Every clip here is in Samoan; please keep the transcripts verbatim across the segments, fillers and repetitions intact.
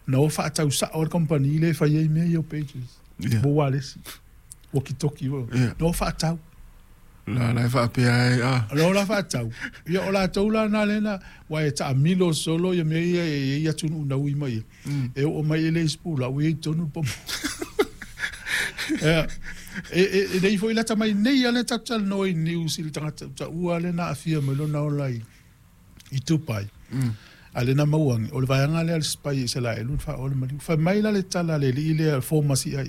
Na o faatau sao le kamupani lea e fai ai mea ia o pages. Ia. Mo ualesi. Walkie-talkie. Ia. Na o faatau. La la e faapea ai a. O la faatau. Ia o latou la na lena wa e taamilo solo ia mea ia e ia atunuu na ui mai. E oo mai e le isi pula ua i ai tonu le pomo. Ia, e e e nei foi lata mai nei a le tatou talanoa i news i le tagata taua lea na aafia mai lona ola i i Dubai. A lena maua o le vaega lea a le spy i Isaraelu na faaoa le maliu. Fai mai la le tala a le alii lea former C I A.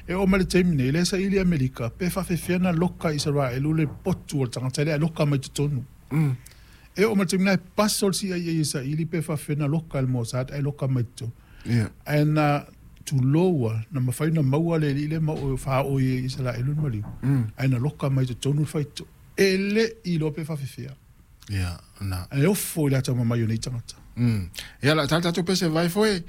E oo mai le taimi nei, lea saili Amerika, pe faafefea na loka i Isaraelu le potu o le tagata lea e loka mai totonu. E oo mai le taimi nei, e paso le C I A e saili pe faafefea na loka e le Mossad ae loka mai totonu. Ia. Ae na tuloua, na mafai na maua le alii lea ma o faaoi e Isaraelu le maliu. Ae na loka mai totonu le faito. E le i iloa pe faafefea. Ia, na. Ae ofo i le atamamai o nei tagata. Mm. Ia, la tala tatou pese vai foi.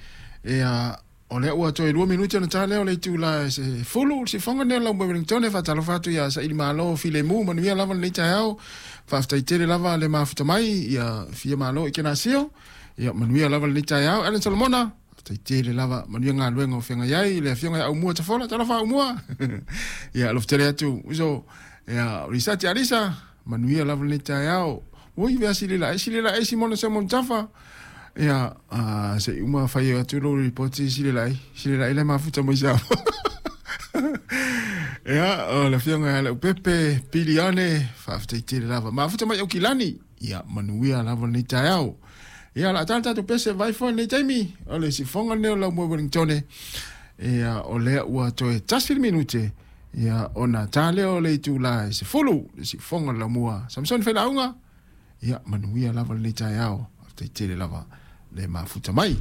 Ia, o lea ua toe lua minute ona ta lea o le itula e se fulu, se fonga nea lau Wellington e faatalofa atu ia Saili Malo Filemu, manuia lava lenei taeao. Faafetai tele lava le mafuta mai, ia fia malo i kena sio. Ia, manuia lava lenei taeao. Alan Solomona, faafetai tele lava, manuia galuega o feagai ai, le afioga ia Aumua Tafola, talofa Aumua. Ia, alofa tele atu, uso, ia, Risati Alisa, manuia lava lenei taeao. Ui, vea sili la, sili la, Simona Simon Tafa. Ia, ah, se uma fai atu lo ripoti sili la, sili la, le mafuta mai sa. Ia, o le afioga ia Lau Pepe, Piliane, faafetai tele lava. Mafuta mai au kilani. Ia, manuia lava lenei taeao. Ia, la tala tatou pese vai foi lenei taimi. O le sifonga lenei o lau moe Wellington. Ia, o lea ua toe tasi le minute. Ia, ona ta lea o le itula e sefulu, le sifonga o le laumua. Samson Failauga. Ia, manuia lava lenei taeao. Faafetai tele lava le mafuta mai.